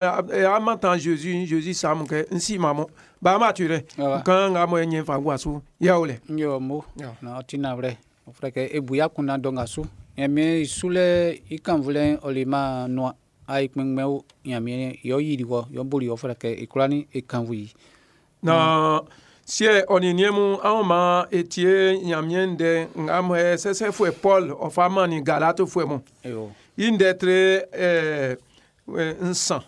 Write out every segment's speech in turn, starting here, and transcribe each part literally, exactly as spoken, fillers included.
A mantan Jésus, Jésus sa mun kɛ n si ma mɔ ba ma tu dɛ kan nga mɔ ɲɛ fa gua su ya o lɛ. Yo mo na ɔ ti nawlɛ ɔ fɛ kɛ e bu ya kunna dɔ nga su Ɲanmiɛn sulɛ i kanvulɛ'n ɔ leman nuan ayi kpɛnngbɛn o Ɲanmiɛn yɛ ɔ yili wɔ yɛ ɔ boli wɔ fɛ kɛ e kwla ni e kanvu yi. Na siɛ ɔ nin niɛn mun anw ma etie Ɲanmiɛn ndɛ nga mɔ sɛsɛfuɛ Paul ɔ fa mannin Galatifuɛ mun. Yo. I ndɛ tre ɛɛ nsan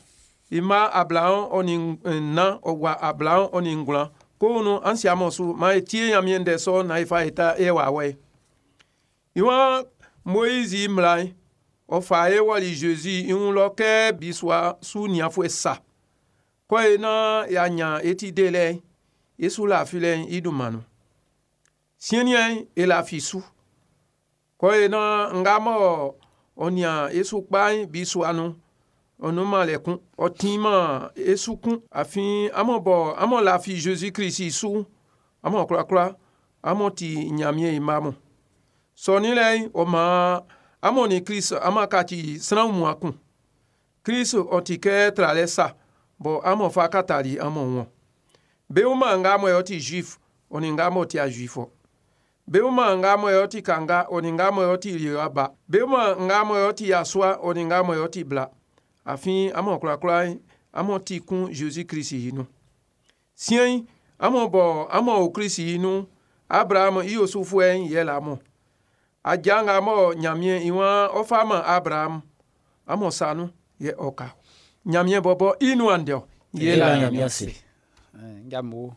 ima ablaɔn ɔ nin nnan ɔ gua ablaɔn ɔ nin ngwlan ko nu an si amɔ su ma etie Ɲanmiɛn ndɛ sɔ na ifa eta e wa wɛ. Iwan Moïse mmla ɔ fa e wɔli Jésus i wun lɔ kɛ bisua su nianfuɛ sa kɔ e na ya nya eti de lɛ esu lafi lɛ i dunman nun siɛniɛ e lafi su kɔ e na nga mɔ ɔ nia esu kpa bisua nu ɔnu ma lɛ kun ɔ ti ma esu kun afin amɔ bɔ amɔ lafi Jésus Christ su amɔ kurakura amɔ ti Ɲanmiɛn i ma mɔ sɔni lɛ ɔ ma amɔ ni Christ ama kati sran mua kun Christ ɔ ti kɛ tralɛ sa bɔn amɔ fa katali amɔ wɔn bewu ma nga mɔ yɔ ti juif ɔ ni nga mɔ ti a juif ɔ bewu ma nga mɔ yɔ ti kanga ɔ ni nga mɔ yɔ ti yoaba bewu ma nga mɔ yɔ ti yasua ɔ ni nga mɔ yɔ ti bla afin amɔ kurakura amɔ ti kun Jésus Christ yi nu siɛn amɔ bɔ amɔ o Christ yi nu Abraham i osufuɛ yɛ la mɔ adza nga mɔ Ɲanmiɛn i wan ɔ ma Abraham amɔ sanu yɛ ɔka Ɲanmiɛn bɔbɔ i nuan dɛ ye la Ɲanmiɛn se. Nja mo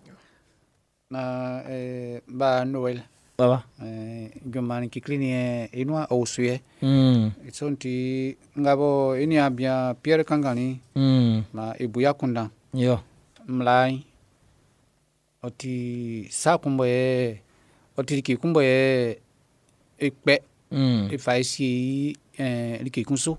na eh, ba Noël. Baba. Eh, junman kekle ni e nuan ɔ su yɛ. Mm. I sɔ'n ti nga bɔ e nian bian Pierre Kangani Mm. ma e bu ya kundan Yo. mmla'n ɔ ti sa kun bɔ yɛ ɔ ti like kun bɔ yɛ e kpɛ Mm. e fa e sie i eh, like kun su.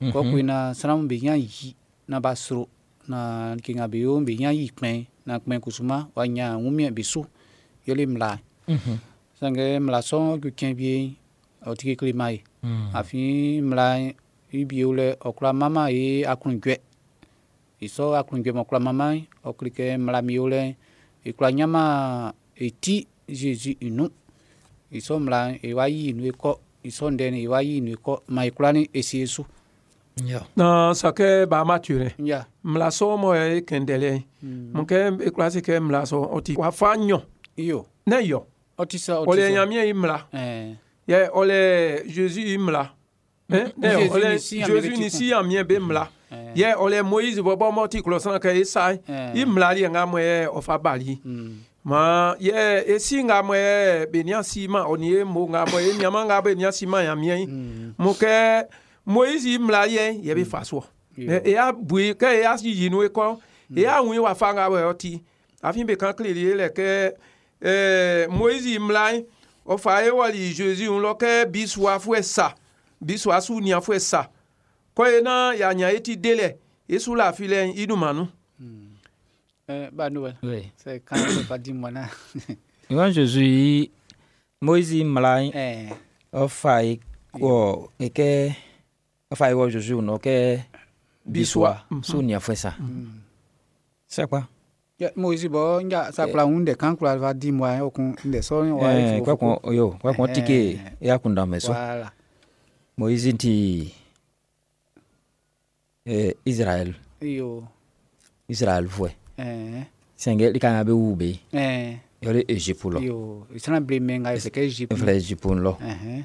Mhm. Kɔ koe na sran'm be ɲan yi na ba sro na like nga be yo'n be ɲan yi kpɛn na kpɛn kusuma wa ɲan wunmiɛn be su yɛle mmla. Mhm. Sanngɛ mmla sɔ'n ju cɛn wie ɔ ti kekle man e. Mm. Afin mmla'n i bie lɛ ɔ kwla manman e aklunjuɛ. I sɔ aklunjuɛ m'ɔ kwla manman'n ɔ kle kɛ mmla mi o lɛ'n e kwla ɲanman e ti Jésus i nun. I sɔ mmla'n e wa yi nun e kɔ i sɔ ndɛ'n e wa yi nun e kɔ ma e kwla ni e sie su. Yo. Na sakɛ ba ma tu rɛ Nja. mmla sɔ mɔ yɛ kɛndɛlɛ mun kɛ e kwla se kɛ mmla sɔ ɔ ti wafa nyɔ Iyo. ne yɔ Ɔ ti sɔ ɔ ɔlɛ ti sɔ. Ɲanmiɛn i mmla Ɛɛ. yɛ ɔlɛ Jésus i mmla Hein? Ne Jésus ɔlɛ ni si Ɲanmiɛn Jésus be ni ti si Ɲanmiɛn be mmla Ɛɛ. yɛ ɔlɛ Moïse bɔbɔ mɔ ti klɔ sran kɛ e sa Ɛɛ. i mmla liɛ nga mɔ yɛ ɔ fa bali Mm. ma yɛ esi nga mɔ yɛ be nia si ma ɔ ni ye mo nga mɔ ye niama nga be nia si ma Ɲanmiɛn Mm. mo kɛ Moïse i mmla yɛ yɛ be fa soɔ Iyo. e ya bui kɛ e ya yi nu ekɔ e ya ŋui wa fa nga wɔ ti afin be kan kele ye lɛ kɛ ɛɛ Moïse i mmla ɔ fa ye wɔli Jésus ŋu lɔ kɛ bisua fuɛ sa bisua su niafuɛ sa kɔ ye na ya nya eti de lɛ esu la fi lɛ i dunman nu. Ɛɛ ba Noël. Oui. C'est quand c'est pas dit moi na. Iwan Jésus i Moïse mmla Ɛɛ. ɔ fa e wɔ e kɛ ɔ fa e wɔ Jésus nɔ kɛ Bisua. bisua su niafuɛ sa. C'est quoi? Ya Moïse bɔ nja sa kwla ŋun ndɛ kan kwla fa di moi o kun ndɛ sɔ wa Eh, kpɛkun yo kpɛkun tike e akunda mɛ so. Voilà. Moïse ti eh, Israël Iyo. Israël fuɛ. Ɛɛ. Sɛngɛ lika nga be wu be Ɛɛ. yɔle Égypte lɔ. Iyo. Sran ble mɛ nga c'est que Égypte. Filɛ Égypte lɔ. Ɛhɛn.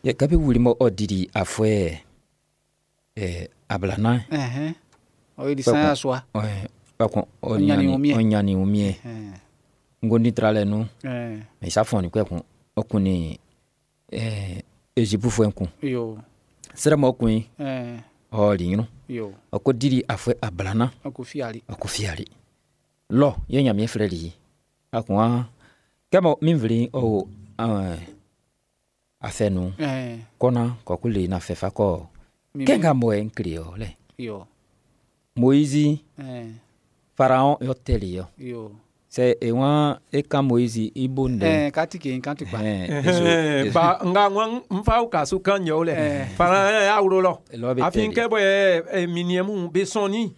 Yɛ kabe wuli mɔ ɔ didi afuɛ eh, ablanan. Ɛhɛn. O yi di san ya soa. Ɛ kpɛkun ɔ Ɔ ɲanni wunmiɛn. ɔ ɲanni wunmiɛn. Ɛɛ. Ngondi tralɛ nu. Ɛɛ. Mɛ isa fɔni kpɛkun ɔ kun ni eh, Égypte fuɛ kun. Iyo. Srɛ mɔ kun yi Ɛɛ. ɔ li ɲinu. Iyo. Ɔ ko didi afuɛ ablanan. O ko fiali. Ɔ ko fiyali. Lɔ ye Ɲanmiɛn filɛ li a kun wa kɛmɔ min fili ɔ ɛɛ afɛ nu Ɛɛ. kɔna kɔku le na fɛ fa kɔ Mi- kɛ nga mɔ yɛ n kile yɔ lɛ Iyo. Moïse Ɛɛ. Pharaon yɔ tɛli yɔ Iyo. Sɛ e waan e kan Moizi i bo ndɛ. Ɛɛ katike kan ti kpa. Ɛhɛn, e so- Ɛhɛn, e- ba nga ŋwan n fa uka su kan yɛ o lɛ Eh. fana y'a wolo lɔ Lɔ be afin tɛli. kɛ bɔ ɛ ɛ minniɛn mun be sɔnni